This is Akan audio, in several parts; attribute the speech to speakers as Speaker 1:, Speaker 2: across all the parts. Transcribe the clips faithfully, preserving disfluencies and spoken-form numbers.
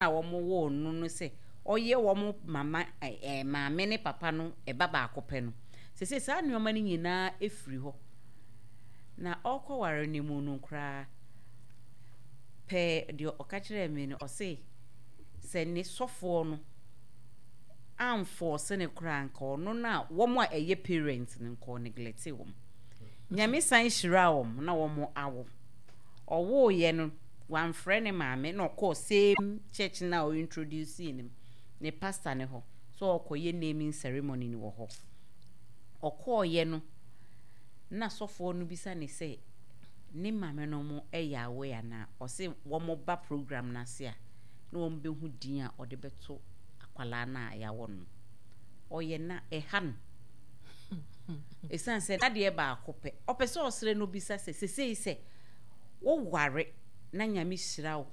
Speaker 1: A wɔwoo no no sɛ ɔyɛ wɔn mama ɛɛ maame ne papa no ɛba baako pɛ no. Seesei saa nneɛma no nyinaa efiri hɔ. Na ɔrekɔware no mu no koraa pɛɛ, deɛ ɔka kyerɛɛ me no, ɔse sɛ ne sɔfoɔ no amfɔɔse ne koraa, nka ɔno no a wɔn a ɛyɛ parents no, nka ɔneglect wɔn. Nyame san hyira wɔn na wɔn awo. Ɔwooyɛ no, wamfrɛ ne maame na ɔkɔɔ same church na ɔintroduce ne ne pastor ne hɔ so ɔkɔyɛ naming ceremony no wɔ hɔ. Ɔkɔɔyɛ no na sɔfoɔ no bisa ne sɛ ne maame no mo ɛyɛ aware anaa. Ɔse wɔn ba program n'ase a na wɔn bɛhu din a ɔde bɛto akwalaa no a yɛawɔ no. Ɔyɛ na ɛha no, ɛsiane sɛ n'adeɛ baako pɛ ɔpɛ sɛ ɔsrɛ no bisa sɛ sesei sɛ woware na Nyame hyira wo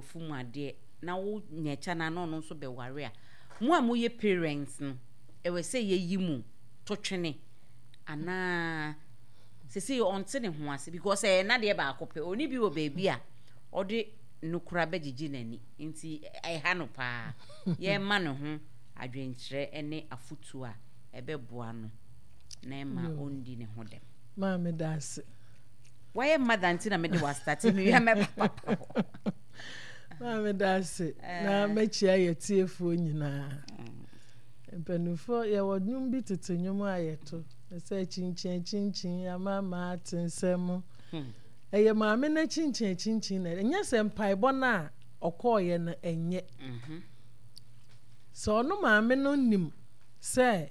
Speaker 1: wafu mu adeɛ na wonya akya no na ɔno nso bɛware a, mo a moyɛ parents no, ɛwɔ sɛ yɛyi mu to twene anaa? Sesei ɔnte ne ho ase because ɛyɛ n'adeɛ baako pɛ, ɔni bi wɔ baabi a ɔde nokora bɛgyegye n'ani, nti ɛha no paa. Yɛma ne ho adwenkyerɛ ne afotuo a ɛbɛboa no na ɛma ɔndi ne ho dɛm.
Speaker 2: Maa meda ase.
Speaker 1: Wayɛ mother nti na mede wastart mewia mɛba papa hɔ.
Speaker 2: Maa meda ase na mɛkyia yɛ tiefoɔ nyinaa. Mpanimfoɔ, yɛwɔ nnwom bi, tete nnwom a yɛto sɛ kyinkyin akyinkyin ama ama ate nsɛm. Ɛyɛ maame no akyinkyin akyinkyin na ɛnyɛ sɛ mpaebɔ no a ɔkɔɔyɛ no ɛnyɛ sɛ ɔno maame no nim sɛ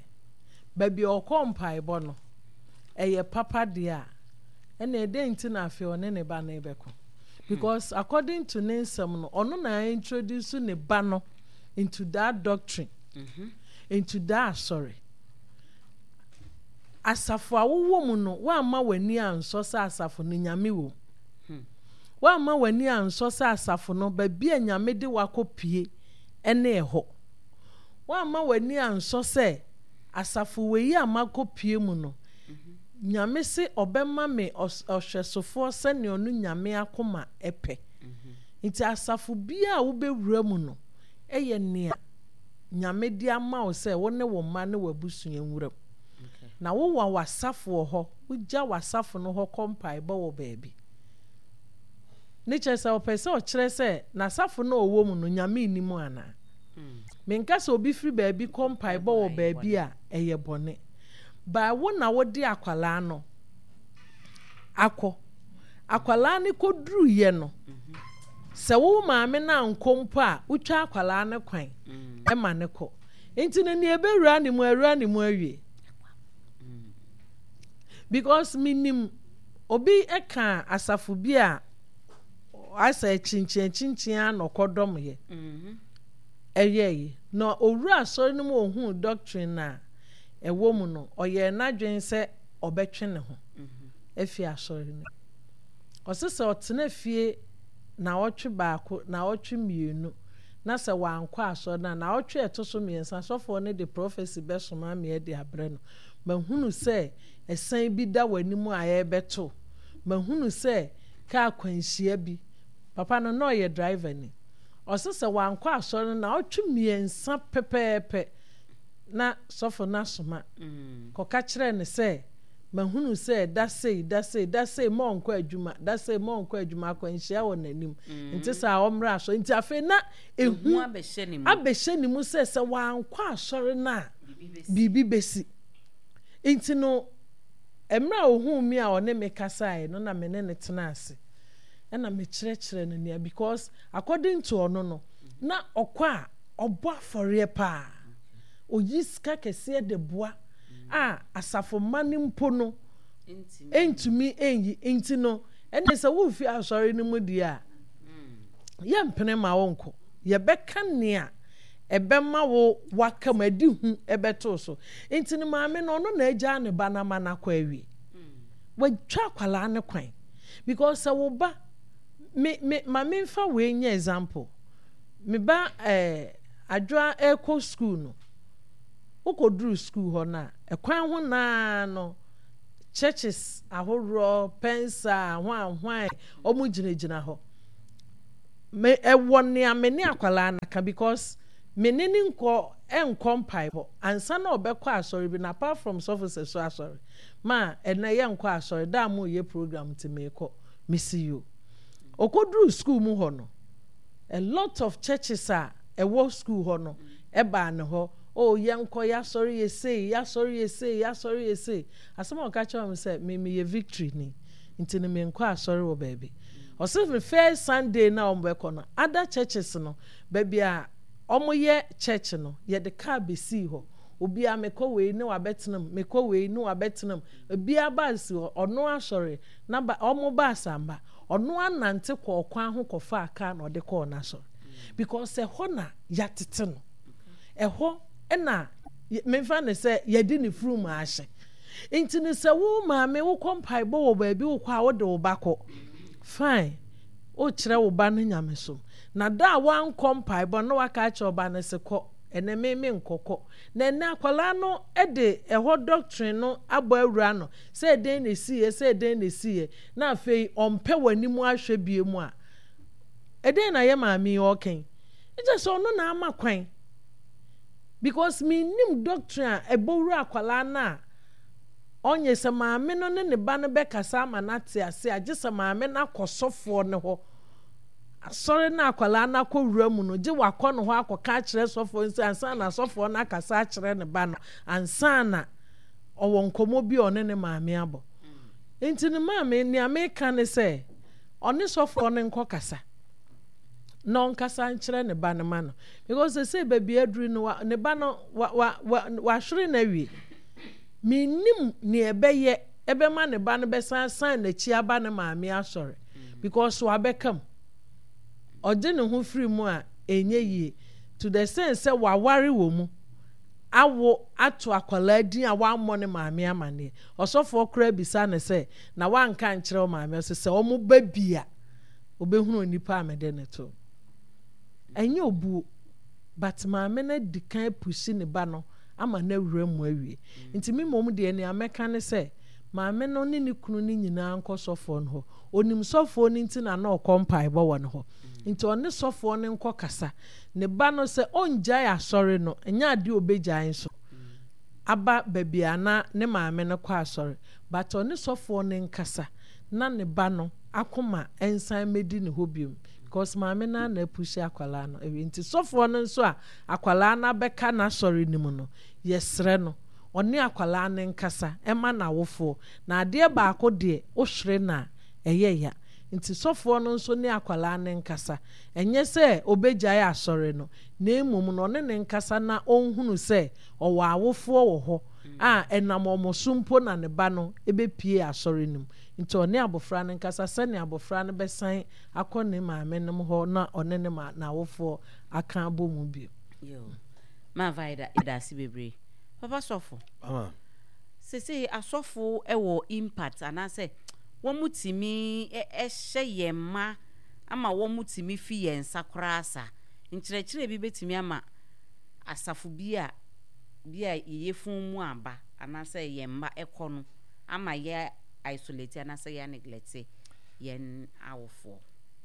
Speaker 2: baabi a ɔkɔ mpaebɔ no ɛyɛ papa deɛ a, ɛna ɛdɛn nti na afei ɔne ne ba no bɛkɔ? Because according to ne nsɛm no, ɔno na introduce ne ba no into that doctrine, mm-hmm. into that asɔre. Asafo a wowɔ mu no, woamma w'ani ansɔ sɛ asafo no Nyame wɔ mu, hmm. woamma w'ani ansɔ sɛ asafo no baabi a Nyame de wakɔ pie ɛne ɛhɔ, woamma w'ani ansɔ sɛ asafo wei a makɔ pie mu no, Nyame se ɔbɛma me ɔhwɛsofoɔ sɛnea ɔno Nyame akoma ɛpɛ. Nti asafo biara a wobɛwura mu no ɛyɛ nea Nyame de ama wo sɛ wo ne wo mma ne w'abusua nwura mu. Na wowɔ w'asafo wɔ hɔ, wogya w'asafo no hɔ kɔ mpaebɔ wɔ baabi. Ne kyerɛ sɛ ɔpɛ sɛ ɔkyerɛ sɛ n'asafo no a ɔwɔ mu no, Nyame nni mu anaa? Menka sɛ obi firi baabi kɔ mpaebɔ wɔ baabi a ɛyɛ bɔne. But wo na wode akwalaa no akɔ. Akwalaa no kɔduruyɛ no, sɛ wo maame no ankɔ mpo a, wotwa akwalaa no kwan ma no kɔ. Nti no nea ɛbɛwura ne mu awura ne mu awie. Because menim obi ka asafo bi a asɛ kyinkyin kyinkyin a na ɔkɔdɔm yɛ. Ɛyɛ yi. Na owura asɔre no mu, ohuu doctrine a ɛwɔ mu no, ɔyɛɛ n'adwene sɛ ɔbɛtwe ne ho afi asɔre no mu. Ɔse sɛ ɔtena fie naawɔtwe baako, naawɔtwe mmienu, na sɛ wankɔ asɔre no a, naawɔtwe a ɛto so mmiɛnsa, sɔfoɔ no de prophecy bɛsoma me de abrɛ no. Mahunu sɛ ɛsan bi da w'anim a ɛrebɛto. Mahunu sɛ kaa kwanhyia bi. Papa no, na ɔyɛ driver ni. Ɔse sɛ wankɔ asɔre no naawɔtwe mmiɛnsa pɛpɛɛpɛ, na sɔfo no asoma kɔka kyerɛɛ no sɛ, mahunu sɛ da sei, da sei, da sei ma ɔnkɔ adwuma, da sei ma ɔnkɔ adwuma, akwanhyia wɔ n'anim. Nti saa ɔmmra asɔre. Nti afei na ehu abɛhyɛ ne mu sɛ sɛ wankɔ asɔre no a, biribi bɛsi. Nti no, mmerɛ a ohuu me a ɔne me kasaeɛ no, na me ne no tena ase. Ɛna mekyerɛkyerɛ no nea, because according to ɔno no, na ɔkɔ a ɔbɔ afɔreɛ paa. Oyi sika kɛseɛ de boa a asafo mma no mpo no ntumi nyi. Nti no, ɛne sɛ worefi asɔre no mu deɛ a, yɛmpene ma wo nkɔ. Yɛbɛka nea ɛbɛma wo waka mu adi hu ɛbɛto so. Nti no maame no, ɔno na agyaa ne ba no ama no akɔ awie. Watwa akwadaa no kwan. Because sɛ wo ba, me me ma memfa wei nyɛ example. Me ba ɛɛ Adwoa ɛrekɔ school no, wokɔduru school hɔ no a, ɛkwan ho naa no, churches ahoroɔ, pɛnsa, hwan hwan, wɔn gyinagyina hɔ. Me ɛwɔ nea me ne akwadaa no aka because me ne ne nkɔ ɛnkɔ mpaebɔ ansa na ɔbɛkɔ asɔre bi na apart from sɔfo sɛ so asɔre ma ɛnɛ yɛnkɔ asɔre da a mo yɛ program nti meekɔ mesi yo ɔkɔduru school mu hɔ no a lot of churches a ɛwɔ school hɔ no ɛbaa ne hɔ oh yɛnkɔ yɛasɔre yɛ sei yɛasɔre yɛ sei yɛasɔre yɛ sei asɛm a ɔka kyerɛ me sɛ me meyɛ victory ni nti no menkɔ asɔre wɔ baabi ɔsɛ me first sunday na ɔmo bɛkɔ no other churches no baabi a ɔmo yɛ church no yɛde car besii hɔ obiara mekɔ wei ne wabɛtena mu mekɔ wei ne wabɛtena mu obiara ba si hɔ ɔno asɔre na ba ɔmo ba asamba ɔno anante kɔ ɔkwan ho kɔfa car na ɔde kɔɔ n'asɔre because ɛhɔ na yɛatete no ɛhɔ ɛna memfa ne sɛ yɛde ne furum ahyɛ nti ne sɛ wo maame wokɔ mpaebɔ wɔ baabi wokɔ a wode wo ba kɔ fine wokyerɛ wo ba no nyamesom na da a wankɔ mpaebɔ na waka akyerɛ ɔba no sɛ kɔ ɛnɛ me me nkɔkɔ na ɛnɛ akwadaa no de ɛhɔ doctrine no abɔ awura no sɛ ɛdɛn na esiiɛ sɛ ɛdɛn na esiiɛ na afei ɔmpɛ w'anim ahwɛ bie mu a ɛdɛn na yɛ maame yi ɔkɛn ɛkyɛ sɛ ɔno na ama kwan because menim doctrine a ɛbɔ wura akwadaa no a ɔnyɛ sɛ maame no ne ne ba no bɛkasa ama no ate ase a gye sɛ maame no akɔ sɔfoɔ no hɔ asɔre no akwadaa no akɔ wura mu no gye wakɔ ne hɔ akɔka akyerɛ sɔfoɔ no sɛ ansa na sɔfoɔ no akasa akyerɛ ne ba no ansa na ɔwɔ nkɔmmɔ bi a ɔne ne maame abɔ nti ne maame nea meka ne sɛ ɔne sɔfoɔ no nkɔ kasa na ɔnkasa nkyerɛ ne ba no ma no because sɛ baabi aduru no wa ne ba no wa wa wa wahwere no awie menim nea ɛbɛyɛ ɛbɛma ne ba no bɛsan san n'akyi aba ne maame asɔre because wabɛka mu ɔgye ne ho firi mu a ɛnyɛ yie to the sense sɛ waware wɔ mu awo ato akwadaa din a wammɔ ne maame amanneɛ ɔsɔfoɔ koraa bisa ne sɛ na wanka nkyerɛ wo maame ɔsɛ sɛ ɔmo ba bi a obɛhunu onipa a mede ne to ɛnyɛ obuo but maame no adi kan apush ne ba no ama no awura mu awie nti me mmom deɛ nea mɛka ne sɛ maame no ne ne kunu no nyinaa nkɔ sɔfoɔ no hɔ onim sɔfoɔ no nti na na ɔkɔ mpaebɔ wɔ ne hɔ nti ɔne sɔfoɔ no nkɔ kasa ne ba no sɛ ɔngyae asɔre no ɛnyɛ adeɛ obɛgyae nso aba baabi a na ne maame no kɔ asɔre but ɔne sɔfoɔ no nkasa na ne ba no akoma nsan mɛdi ne hɔ biom because maame no na apush akwalaa no awie nti sɔfoɔ no nso a akwalaa no abɛka n'asɔre no mu no yɛsrɛ no ɔne akwalaa no nkasa ɛma n'awofoɔ na adeɛ baako deɛ wohwere no a ɛyɛ ya nti sɔfoɔ no nso ne akwalaa no nkasa ɛnyɛ sɛ obɛgyae asɔre no na mmom no ɔne ne nkasa na ɔnhunu sɛ ɔwɔ awofoɔ wɔ hɔ a ɛnam ɔmo so mpo na ne ba no ɛbɛpie asɔre no mu nti ɔne abɔfra no nkasa sɛnea abɔfra no bɛsan akɔ ne maame nom hɔ na ɔne ne ma n'awofoɔ aka abɔ mu bio.
Speaker 1: Yo. Maava yɛda yɛda ase bebree. Papa sɔfo.
Speaker 3: Mama.
Speaker 1: Sese asɔfo ɛwɔ impact anaasɛ wɔn mu tumi ɛhyɛ yɛn mma ama wɔn mu tumi fi yɛn nsa koraa sa nkyerɛkyerɛ bi bɛtumi ama asafo bi a bi a yɛyɛ fun mu aba anaasɛ yɛn mma ɛkɔ no ama yɛ isolate anaasɛ yɛ neglect yɛn awofoɔ.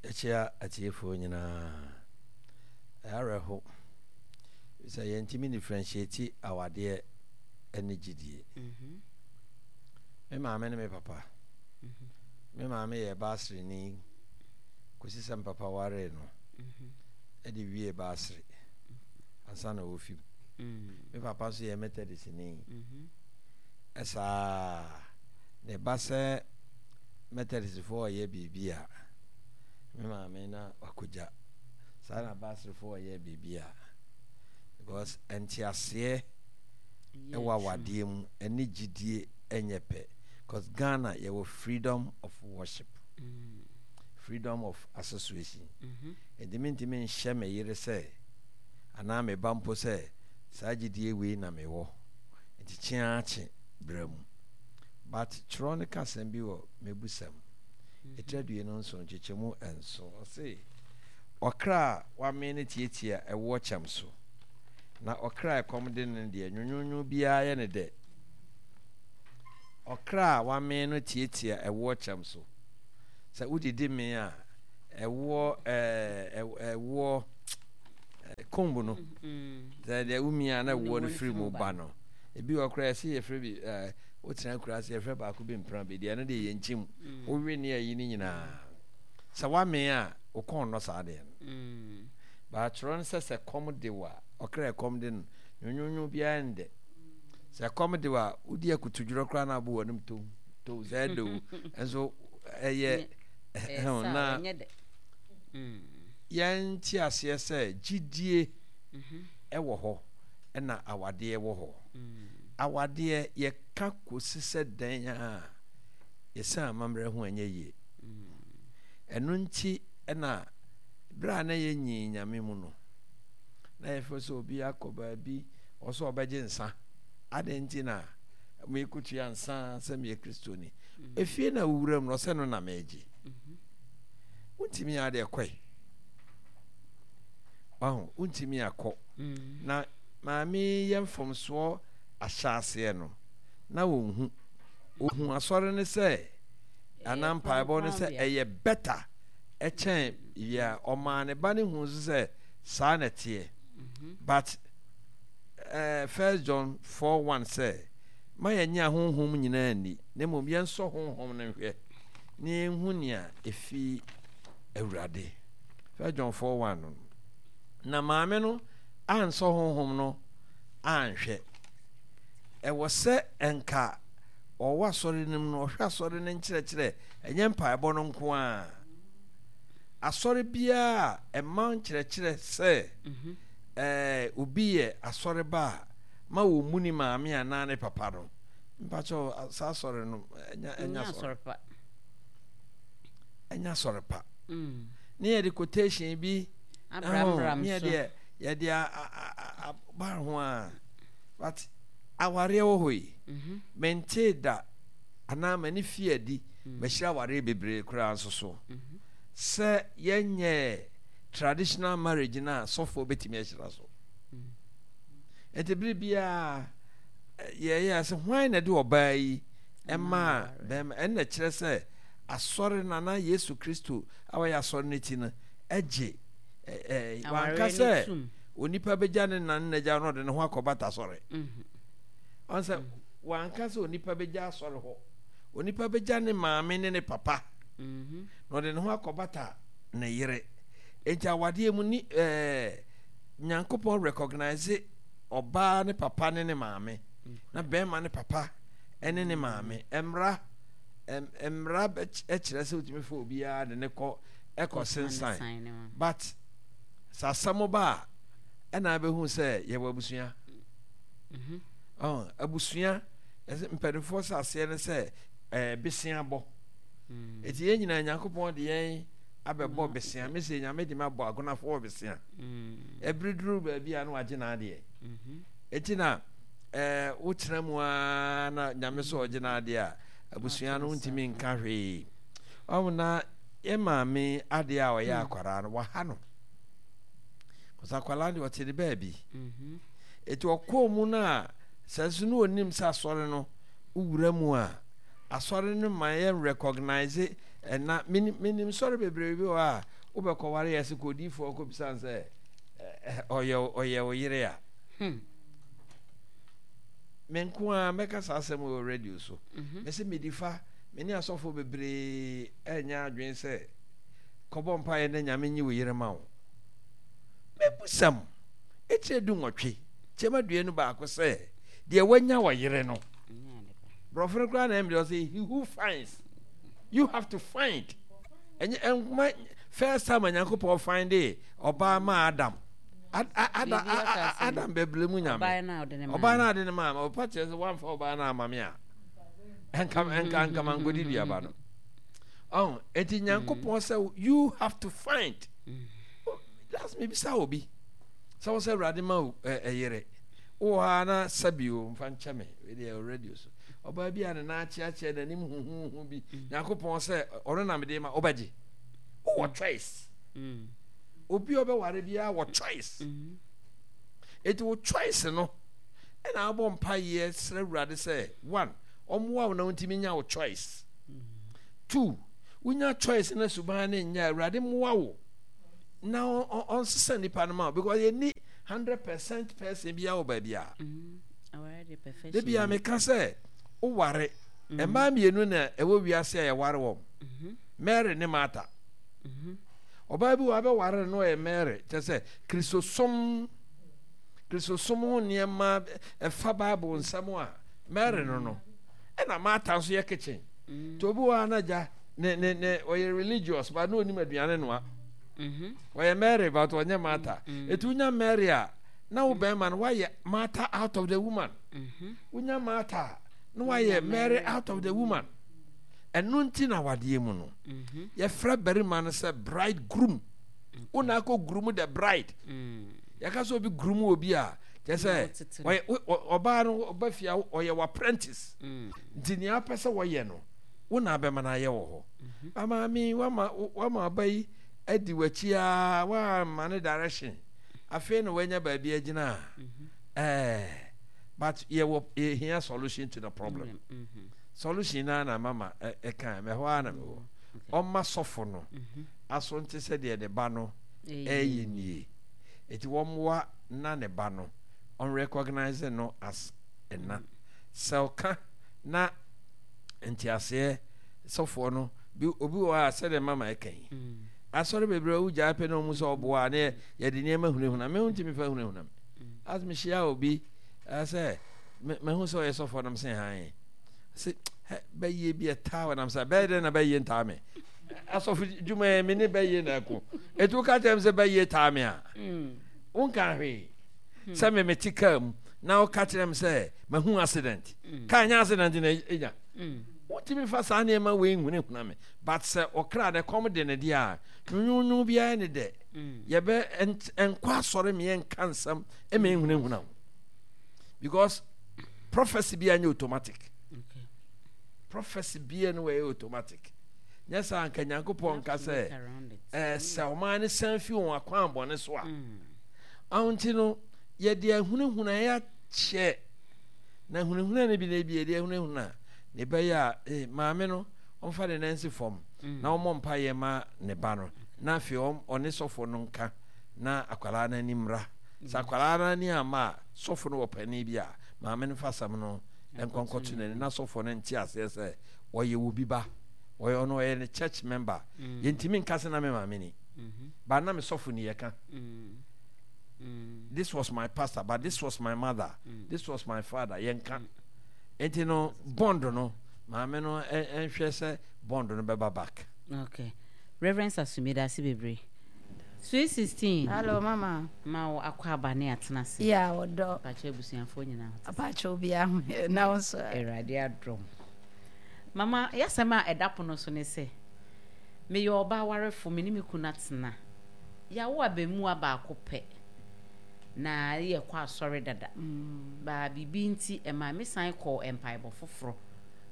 Speaker 3: Ɛkyia atiefoɔ nyinaa ɛyɛ awerɛho sɛ yɛntumi differentiate awadeɛ ne gyidie.
Speaker 1: Mhm.
Speaker 3: Me maame ne me papa me maame yɛ baasreni kɔsi sɛ mpapa waree no ɛde wie baasere ansa na wɔfi mu.
Speaker 1: Mm.
Speaker 3: Me papa nso yɛ methodistni
Speaker 1: Mhm.
Speaker 3: ɛsaa ne ba sɛ methodistfoɔ ɔyɛ biribi a me maame na wakɔgya saa na baaserefoɔ ɔyɛ biribi a because nteaseɛ
Speaker 1: Ɛyɛ
Speaker 3: ɛwɔ
Speaker 1: adwuma.
Speaker 3: awadeɛ mu ɛne gyidie ɛnyɛ pɛ because Ghana yɛwɔ freedom of worship
Speaker 1: Mm.
Speaker 3: freedom of association
Speaker 1: Mhm.
Speaker 3: nti mentumi nhyɛ me yere sɛ anaa me ba mpo sɛ saa gyidie wei na mewɔ nti kyeaa kye brɛ mu but twerɛ no ka asɛm bi wɔ mebusɛm ɛtira aduonu nson nkyekyɛmu nson ɔse ɔkra a wame no tietia ɛwoɔ kyɛm so na ɔkra a ɛkɔm de no deɛ nwonwonwo biara yɛ ne dɛ ɔkra a wame no tietia ɛwoɔ kyɛm so sɛ wodidi me a Ɛwoɔ ɛɛ ɛwoɔ comb no. Sɛ deɛ womia na ɛwoɔ no firi mu ba no. Ebi wɔ koraa yɛsɛ yɛfrɛ bi ɛɛ wotena kura ase yɛfrɛ baako bi mpena bi deɛ ɛno deɛ yɛ nkyim. Wowe ne ayi ne nyinaa. Sɛ woamee a wo kɔn nnɔ saa deɛ no. Baatwerɛ no sɛ sɛ kɔm de wo a ɔkra ɛkɔm de no nwonwonwo biara ndɛ. Sɛ kɔm de wo a wodi akutudworɔ koraa na abo w'anom tow tow sɛ ɛdɛ o nso ɛyɛ na yɛnte aseɛ sɛ gyidie ɛwɔ hɔ ɛna awadeɛ wɔ hɔ. Awadeɛ yɛka kɔsi sɛ dɛn a yɛsan amammerɛ ho ɛnyɛ yie. Ɛno nti ɛna berɛ a na yɛnyi Nyame mu no na yɛfɛ sɛ obi akɔ baabi ɔsɛ ɔbɛgye nsa. Adɛn nti na mekɔtua nsa sɛ meyɛ Kristoni? Efie na wowura mu no ɔsɛ no na meegye. Wontumi adeɛ kɔe. Wahu, wontumi akɔ. Na maame yɛ mfomsoɔ ahyɛaseɛ no na wɔnhu. Ohu asɔre no sɛ anaa mpaebɔ no sɛ ɛyɛ better ɛkyɛn yɛ ɔmaa ne ba ne hu nso sɛ saa na ɛteɛ. But uh, First John four one sɛ ma yɛnyɛ ahonhom nyinaa nni na mmom yɛnsɔ honhom no nhwɛ na yɛnhu nea ɛfi Awurade. First John four one no. Na maame no ansɔ honhom no anhwɛ. Ɛwɔ sɛ ɛnka ɔwɔ asɔre no mu no ɔhwɛ asɔre no nkyerɛkyerɛ ɛnyɛ mpaebɔ no nko a. Asɔre biara ɛma nkyerɛkyerɛ sɛ ɛɛ obi yɛ asɔre ba a ma wɔn mu ni maame anaa ne papa no mpakyɛw saa asɔre no ɛnya ɛnya asɔre pa ɛnya asɔre pa. Ne yɛde quotation bi
Speaker 1: Abraham
Speaker 3: ne yɛde yɛde aba ho a but awareɛ wɔ hɔ yi mente da anaa m'ani fi adi mahyira awareɛ bebree koraa nso so sɛ yɛnyɛ traditional marriage na sɔfoɔ bɛtumi ahyira so. Nti bere biara yɛyɛ sɛ hwan na de ɔbaa yi ɛma bɛrima ɛnna kyerɛ sɛ asɔre no anaa Yesu Kristo a wɔyɛ asɔre no ti no ɛgye ɛɛ wanka sɛ onipa bɛgya ne nan n'agya na ɔde ne ho akɔbata asɔre. Ɔn sɛ wanka sɛ onipa bɛgya asɔre hɔ, onipa bɛgya ne maame ne ne papa na ɔde ne ho akɔbata ne yere. Enti awadeɛ mu ni ɛɛ Nyankopɔn recognize ɔbaa ne papa ne ne maame na bɛrima ne papa ne ne maame. Mmra mmra kyerɛ sɛ wotumi fa obiara de ne kɔ ɛkɔ sensan, but sɛ asɛm ba a ɛna abɛhu sɛ yɛwɔ abusua. Abusua mpanimfoɔ sɛ aseɛ ne sɛ ɛɛ besia bɔ. Eti yɛn nyinaa Nyankopɔn de yɛn abɛbɔ besia. Mese Nyame de ma bɔ agonafoɔ besia. Ɛbere duru baabi a na wagye n'adeɛ. Eti na ɛɛ wotena mu ara na Nyame sɛ ɔgye n'adeɛ a abusua no ntumi nka hwee. Ɔmo na yɛ maame adeɛ a ɔyɛ akwaraa no waha no. Kɔsa akwaraa deɛ ɔte ne baabi. Eti ɔkɔɔ mu no a sɛ nso no onim sɛ asɔre no wura mu a asɔre no ma yɛn recognize ɛna minim sɔre bebree bi wɔ a wobɛkɔware yɛ sɛ kɔdiifoɔ kɔbisa sɛ ɔyɛ ɔyɛ wo yere a. Me nko ara mɛka saa asɛm wɔ radio so. Mɛsɛ medi fa me ne asɔfoɔ bebree ɛnyɛ adwene sɛ kɔbɔ mpaeɛ na Nyame nyi wo yere ma wo. Mɛbusam ɛkyerɛ du nwɔtwe kyɛm aduonu baako sɛ deɛ wanya wɔ yere no. Borɔfo no koraa na ɛmde ɔsɛ he who finds, you have to find. Ɛnyɛ ɛnkuma first time Nyankopɔn find it ɔbaa ma Adam. Adam Adam bɛbile mu Nyame. Ɔbaa na ɔde ne maa ɔpa kyerɛ sɛ wamfa ɔbaa na ama me a ɛnka ɛnka nka mankɔdi duaba no. Ɔn enti Nyankopɔn sɛ you have to find. Last me bisa obi sɛ wo sɛ Awurade ma wo ɛyere wowɔ ha na sɛbi o mfa nkyɛ me wei deɛ radio so ɔbaa bi a ne nan akyeakyea n'anim huhuhu bi Nyankopɔn sɛ ɔno na mede ma wobɛgye. Wowɔ choice. Obi a ɔbɛware biara wɔ choice. Enti wo choice no ɛna abɔ mpaeɛ srɛ Awurade sɛ one ɔmmoa wo na wontumi nya wo choice. Two, Wonya choice na suban ne nya Awurade mmoa wo na ɔnsesa nipa no ma wo, because yɛnni hundred percent person bi wɔ baabi a. De bia meka sɛ woware mmaa mmienu na ɛwɔ wiase a yɛware wɔn, Mary ne Martha. Ɔbaa bi wɔ abɛware no, ɔyɛ Mary, kyerɛ sɛ Kristosom Kristosom ho nneɛma ɛfa Bible nsɛm a Mary no no ɛna Martha nso yɛ kitchen. Nti obi wɔ ha na gya ne ne ne ɔyɛ religious but na onim aduane noa. Ɔyɛ Mary but ɔnyɛ Martha. Etu wonya Mary a, na wo bɛrima no wayɛ Martha out of the woman. Wonya Martha a, na wayɛ Mary out of the woman. Ɛno nti na wadeɛ mu no yɛfrɛ barima no sɛ bride groom. Wo na akɔ groom the bride. Yɛka sɛ obi groom obi a, kyerɛ sɛ ɔyɛ ɔbaa no ɔba fie a ɔyɛ wɔ apprentice. Nti nea apɛ sɛ wɔyɛ no, wo na abɛma no ayɛ wɔ hɔ. Amaame wama wama ɔba yi adi w'akyi a wamma no direction. Afei na wanya baabi agyina a, ɛɛ but yɛwɔ yɛhia solution to the problem. Solution naa na mama ɛka mɛhɔ ara na mewɔ. Ɔma sɔfo no aso nte sɛ deɛ ne ba no ɛyɛ nie. Eti wɔmmoa na ne ba no ɔnrecognize no as ɛna. Sɛ ɔka na nteaseɛ sɔfoɔ no bi obi wɔ hɔ a sɛdeɛ mama ɛka yi. Asɔre bebree a wogyae pɛ na ɔmu sɛ ɔboa a ne yɛde nneɛma hunahuna me ho ntumi fa hunahuna me. As mehyia obi sɛ mahu sɛ ɔyɛ sɔfoɔ nam sɛ han sɛ bɛyɛ bi ɛtaa wɔ nam sɛ bɛyɛ dɛn na bɛyɛ ntaa me asɔfo dwuma yɛ me ne bɛyɛ na ɛko ɛti woka kyerɛ me sɛ bɛyɛ taa me a wonka hwee sɛ me mete kaa mu na woka kyerɛ me sɛ mahu accident kaa nyɛ accident na ɛnya wontumi fa saa nneɛma wei nhunahuna me. But sɛ ɔkra ne kɔm de ne deɛ a, nwunwunwun biara ne dɛ yɛbɛ nkɔ asɔre me yɛnka nsɛm ɛma nhunahuna wo, because prophecy biara nyɛ automatic. Okay. Prophecy biara no wɔyɛ automatic. Nyɛ saa nka Nyankopɔn nka sɛ ɛɛ sɛ ɔman no san fi wɔn akwan bɔne so a. Ahun ti no yɛde ahunahuna yɛakyɛ na ahunahuna no bi na ebi yɛde ahunahuna ne bɛyɛ a ee maame no ɔmfa ne nan nsi fam na ɔmmɔ mpaeɛ ma ne ba no, na afei ɔne sɔfo no nka na akwadaa no ani mmra. Sɛ akwadaa no ani amma a, sɔfo no wɔ panin bi a, maame no fa asɛm no nkɔ nkɔto n'ani na sɔfo no nte aseɛ sɛ ɔyɛ obi ba. Ɔyɛ ɔno ɔyɛ ne church member. Yɛntumi nka sɛ na me maame ni. But na me sɔfo ni yɛka. This was my pastor, but this was my mother. This was my father. Yɛnka. Nti no bond no maame no nhwɛ sɛ bond no bɛba back.
Speaker 1: Okay. Reverend Sasu, meda ase bebree. Sweet sixteen.
Speaker 4: Hello mama.
Speaker 1: Ma wo akɔ aba ne atena ase.
Speaker 4: Yeah, ɔdɔ.
Speaker 1: Pakyɛ abusuafoɔ nyinaa ho te sɛ.
Speaker 4: Pakyɛ obiara ho yɛ na wo nso.
Speaker 1: Awurade adom. Mama, yɛasɛm a ɛda pono so ne sɛ, meyɛ ɔbaa warefo, me ne me kunu atena. Yɛawo abɛmua baako pɛ. Na yɛkɔ asɔre dada. Baa biribi nti ɛmaa me san kɔɔ mpaebɔ foforɔ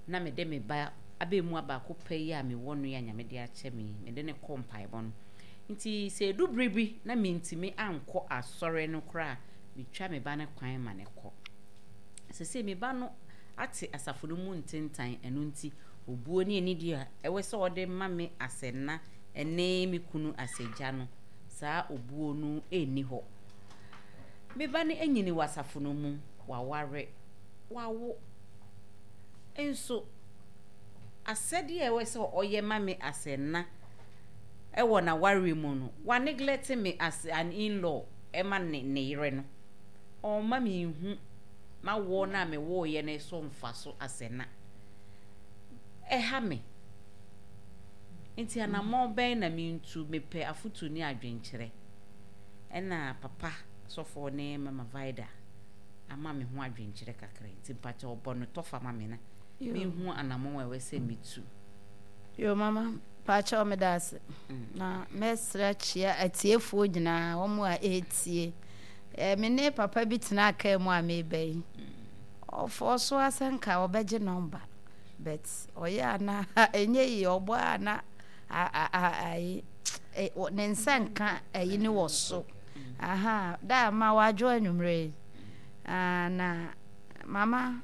Speaker 1: na mede me ba abɛɛmua baako pɛ yi a mewɔ no yi a Nyame de akyɛ me yi, mede no kɔ mpaebɔ no. Nti sɛ ɛdu bere bi na mentumi ankɔ asɔre no koraa a, metwa me ba no kwan ma no kɔ. Sesei me ba no ate asafo no mu ntentan, ɛno nti obuo ne anidie a ɛwɔ sɛ ɔde ma me as ɛna ne me kunu as agya no, saa obuo no nni hɔ. Me ba no anyini wɔ asafo no mu, waware, wawo. Nso asɛdeɛ a ɛwɔ sɛ ɔyɛ ma me as ɛna wɔ n'awareɛ mu no, wa neglect me as an in-law ma ne ne yere no. Ɔmma menhu m'awoɔ no a mewoeɛ no so mfaso as ɛna. Ɛha me. Nti anammɔn bɛn na mentu? Mepɛ afotu ne adwenkyerɛ. Ɛna papa sɔfoɔ ne Mama Vida ama me ho adwenkyerɛ kakra nti mpakyɛ ɔbɔ no tɔfa ma me na menhu anammɔn a ɛwɔ sɛ metu.
Speaker 4: Yo mama, mpakyɛw meda ase. Na mɛsrɛ akyia atiefoɔ nyinaa, wɔn a ɛretie. Eh, me ne papa bi tenaa kaa mu a meba yi. Ɔfɔɔ so ara sɛ nka ɔbɛgye nɔmba. But ɔyɛ a na ɛnyɛ yie, ɔbɔ a na ayi ne nsa nka ayi ne wɔ so. Aha, da ma wadwo anwummerɛ yi. Ah, na mama,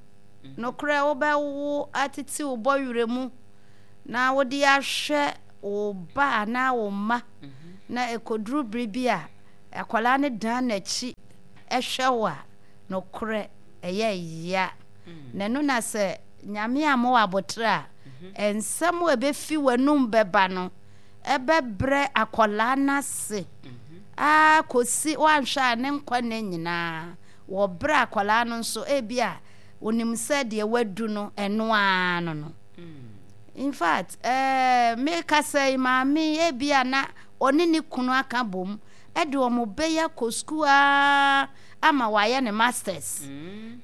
Speaker 4: nokorɛ wobɛwo atete wo bɔwerɛ mu na wode ahwɛ wo ba anaa wo mma na ɛkɔduru bere bi a akwadaa no dan n'akyi hwɛ wo a, nokorɛ ɛyɛ ya. Na ɛno na sɛ Nyame amma wo aboterɛ a, nsɛm a ɛbɛfi w'anum bɛba no, ɛbɛbrɛ akwadaa no ase ara kɔsi woanhwɛ a ne nkwa nna nyinaa. Wɔ berɛ a akwadaa no nso ebi a onim sɛ deɛ wadu no ɛno ara no no. In fact, eh, mekasa yi maame yi ebi a na ɔne ne kunu aka bom de wɔn bɛyɛ akɔ sukuu ara ama wayɛ ne masters.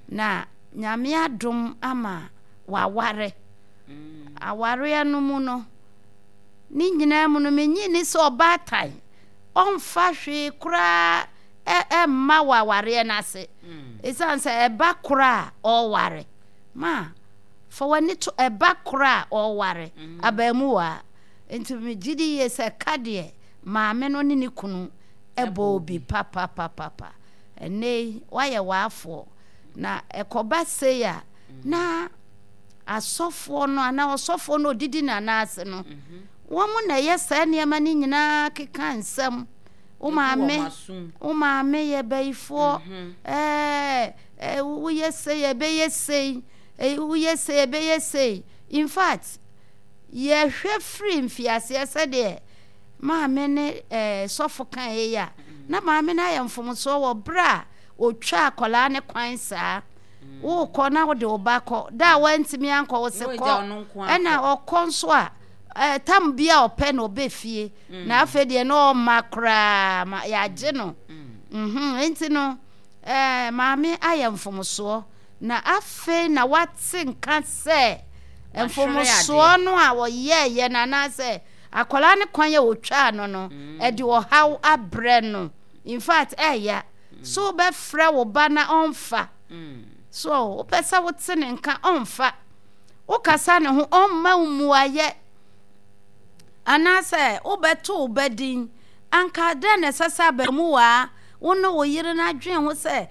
Speaker 4: Na Nyame adom ama waware. Awareɛ no mu no, ne nyinaa mu no, menye nni sɛ ɔbaatan ɔmfa hwee koraa mma wɔ awareɛ no ase. Ɛsiane sɛ ɛba koro a ɔreware. Ma, fa w'ani to ɛba koro a ɔreware abaamuwaa. Nti megye di yie sɛ ka deɛ maame no ne ne kunu bɔɔ bi papapapapa. Ɛnnɛ yi, woayɛ w'afoɔ. Na ɛkɔba sei a, na asɔfoɔ no anaa ɔsɔfoɔ no ɔdidi n'anan ase no, wɔn na ɛyɛ saa nneɛma no nyinaa keka nsɛm. Wo maame, wo maame yɛ bayifoɔ, ɛɛ, woyɛ sei ɛbɛyɛ sei, woyɛ sei ɛbɛyɛ sei. In fact, yɛhwɛ firi mfiaseɛ sɛdeɛ maame ne ɛɛ sɔfo kaeɛ yi a, na maame no ayɛ mfomsoɔ wɔ berɛ a ɔtwa akwadaa no kwan saa. Wokɔ na wode wo ba kɔ. Da a wantumi ankɔ wo se kɔ. Ɛna ɔkɔ nso a, ɛɛ tam bi a ɔpɛ na ɔbɛ fie. Na afei deɛ na ɔmma koraa ma yɛagye no. Mhm, nti no ɛɛ maame ayɛ mfomsoɔ. Na afei na wate nka sɛ mfomsoɔ no a ɔyɛɛyɛ no anaasɛ akwadaa no kwan a ɔtwaa no no, ɛde ɔhaw abrɛ no. In fact, ɛɛya. So wobɛfrɛ wo ba na ɔmfa? So wopɛ sɛ wote ne nka ɔmfa? Wokasa ne ho ɔmma wo mmuayɛ? Anaasɛ wobɛto wo ba din? Anka dɛn na ɛsɛ sɛ abamuwaa wo ne wo yere no adwene ho sɛ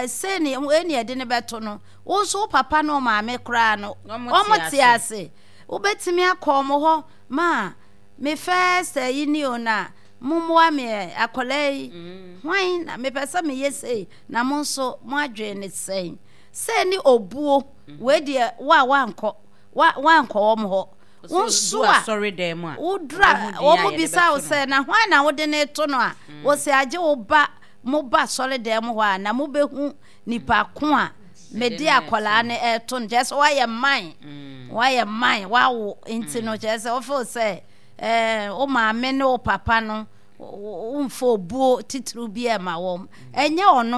Speaker 4: sei ne wei ne yɛde no bɛto no? Wo nso wo papa ne wo maame koraa no, wɔn te ase. Wobɛtumi akɔ wɔn hɔ ma me first ayi ni o na mommoa me ɛ, akwadaa yi, hwan na mepɛ sɛ meyɛ sei na mo nso mo adwene ne sɛn? Sei ne obuo, wei deɛ wo a woankɔ, woankɔ wɔn hɔ. Wo nso a woduru a wɔn bisa wo sɛ na hwan na wode no reto no a, wɔsi agye wo ba mo ba asɔredan mu hɔ a na mobɛhu nipa ko a mede akwadaa no reto no. Kyerɛ sɛ woayɛ man, woayɛ man, woawo nti no kyerɛ sɛ wofeel sɛ Ɛɛ, wo maame ne wo papa no, womfa obuo titiriw bi mma wɔn. Ɛnyɛ ɔno.